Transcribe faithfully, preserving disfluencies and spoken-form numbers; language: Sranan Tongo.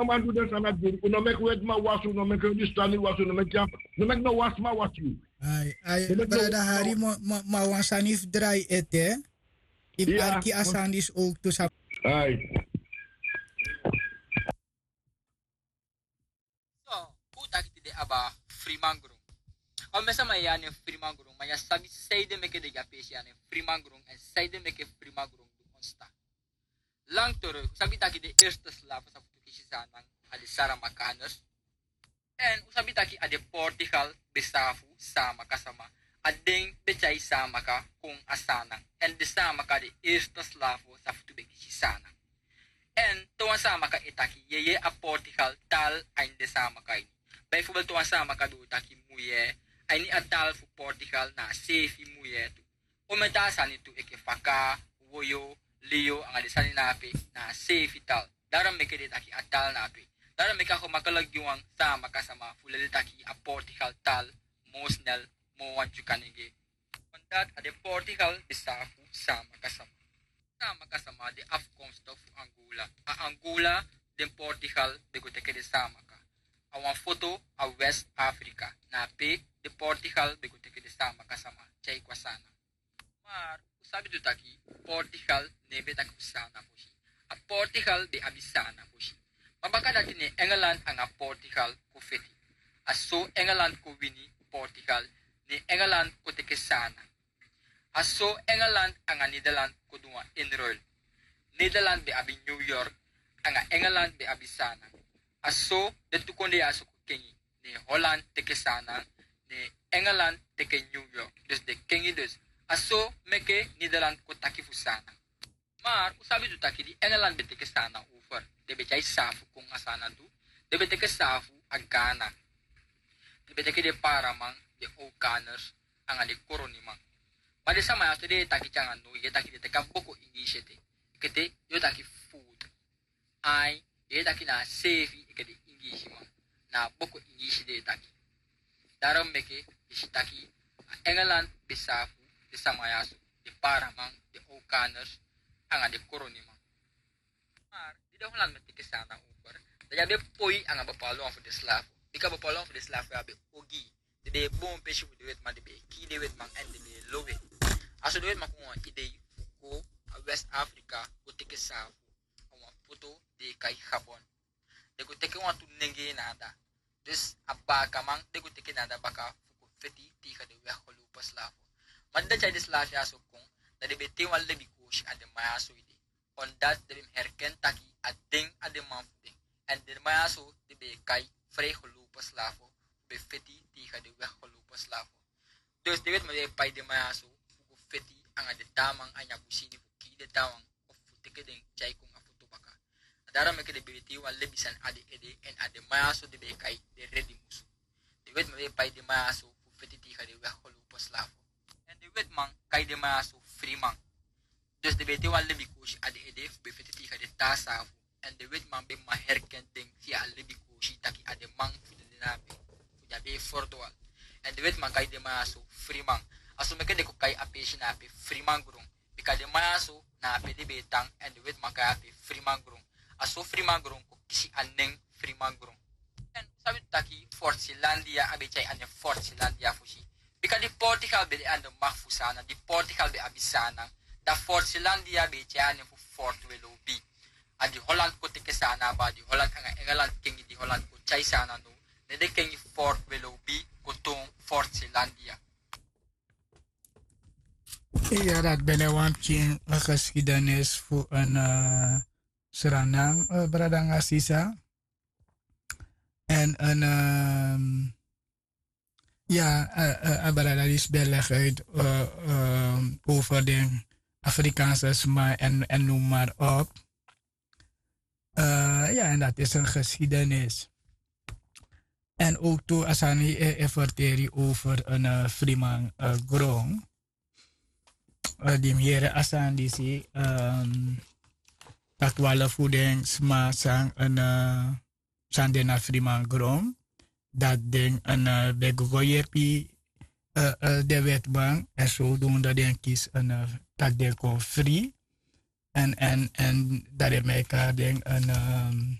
No man du den sani na diri. Un no meki wetiman wasi, un no meki Hindustani wasi, un no meki, no meki no wasiman wasi yu. Ai, ai, brada Hari, ma wan sani fu drai ete. Yu mus arki a sani disi owktu sabi. Ai. So, un taki tide aba frimangron. Al mi sama e yari nen frimangron, ma yu á sabi sanede meke den gi a peesi ya nen frimangron, èn sanede meke frimangron du ontstaan. Lang terug, un sabi taki den eerste slaven san fu tu kisi Saanan a den Saramakaners. Èn un sabi taki a den Portugal ben saafu Saamaka sama. A den ben tyai Saamaka kon a Saanan. Èn den Saamaka den eerste slaven san fu tu ben kisi Saanan. Èn te wan Saamaka e taki, yu e yere a Portugal taal a ini den Saamaka ini. Bijvoorbeeld te wan Saamaka ben o taki mujee, a ini a taal fu Portugal na a seefi mujee tu. Omeni taa sani tu enke faka, woyo, liyo, anga den sani na ape na a seefi taal. Daarom meke den e taki a taal na ape. Daarom meke a gemakkelijk gi wan Saamaka sama fu leli taki a Portugal taal moo snel moo wan Dyuka nenge. Omdat a den Portugal ben saafu Saamaka sama. Saamaka sama de afkomstig fu Angola. A Angola den Portugal ben go teke den Saamaka. A wan foto a West Afrika. Na ape den Portugal ben go teke den Saamaka sama tyai kon a Saanan. Maar un sabi tu taki Portugal no e ben taki fu Saanan fosi. A Portugal ben abi Saanan fosi. Ma baka dati ne Engeland anga Portugal kon feti. A so Engeland kon wini Portugal, ne Engeland kon teke Saanan. A so Engeland anga Nederland kon du wan inruil. Nederland ben abi New York, anga Engeland ben abi Saanan. A so den tu kondee ya so kon kengi. Ne Holland teke Saanan, ne Engeland teke New York. Dus den kengi dus. A so meke Nederland kon taki fu Saanan. Maar un sabi tu taki di Engeland ben teke Saanan over, den ben tyai saafu kon a Saanan tu. Den ben teke saafu a Ghana. Den ben teke den Paraman, den Okaners, anga den Koroniman. Ma den sama ya so di den e taki te anga no, yu e taki den teke a boko Ingiisi ete. Enke te yu o taki food. Ai, den e taki na a seefi enke den Ingiisiman. Na a boko Ingiisi den e taki. Daarom meke yu si taki a Engeland ben saafu den sama ya so, den Paraman, den Okaners, anga den Koroniman. Maar di den Holland ben teke Saanan over, dan den á ben poi anga bepaalde wan fu den slafu. Bika bepaalde wan fu den slafu ya ben ogii. Den ben e boon pesi fu den wetiman, den ben e kii den wetiman èn den ben e lowe. A so den wetiman kon wan idei fu go a West Afrika go teke saafu. A wan foto den e kai Gabon. Den go teke wantu nenge na anda. Dus a baakaman den go teke na anda baka fu go feti tegen den weggelopen slafu. Ma di den tyai den slafu ya so kon, dan den ben tei wan lebi koosi a den man ya so ede. Omdat den ben mus herken taki a den a den man fu den. Èn den man ya so den ben e kai vrijgelopen slafu fu ben feti tegen den weggelopen slafu. Dus den wetiman ben e pai den man ya so fu go feti anga den taa man a ini a busi ini fu kii den taawan of fu teke den tyai kon a foto baka. Na daarom meke den ben e tei wan lebi sani a den ede èn a den man ya so den ben e kai den redi musu. Den wetiman ben e pai den man ya so fu feti tegen den weggelopen slafu. Èn den wetiman kai den man ya so friman. Dus den ben e tei wan lebi koosi a den ede fu ben feti tegen den taa saafu. Èn den wetiman ben man herken den via a lebi koosi taki a den man fu den de na ape, fu den á ben e ferdwaal. Èn den wetiman kai den man ya so friman. A so meke den kon kai a peesi na ape Frimangron. Bika den man ya so na ape den ben e tan èn den wetiman kai ape Frimangron. A so Frimangron kon kisi a nen Frimangron. Èn un sabi tu taki Fort Zeelandia á ben tyai a nen Fort Zeelandia fosi. Bika di Portugal ben de anda mak fu Saanan, di Portugal ben abi Saanan, dan Fort Zeelandia ben e tyai a nen fu Fort Willoughby. A di Holland kon teke Saanan aba, di Holland anga Engeland kengi, di Holland kon tyai Saanan now, ne den kengi Fort Willoughby kon toon Fort Zeelandia. Iya, dati ben de wan pikin, eh, geschiedenis fu een, eh, Sranan, eh, brada anga sisa. En een, ehm, ja, eh, eh, a brada disi ben leg uit, eh, ehm, over den Afrikaanse sma en, en noem maar op. Eh, ja, en dat is een geschiedenis. En ook tu a sani, eh, e ferteri over een, eh, friman, eh, gron. Eh, di mi yere a sani disi, ehm, taki wan fu den sma san, eh, san de na friman gron. Dati den, eh, ben go yepi, eh, eh, den wetiman, en zodoende den kisi, eh, taki den kon fri. En, en, en dati den meki den, eh,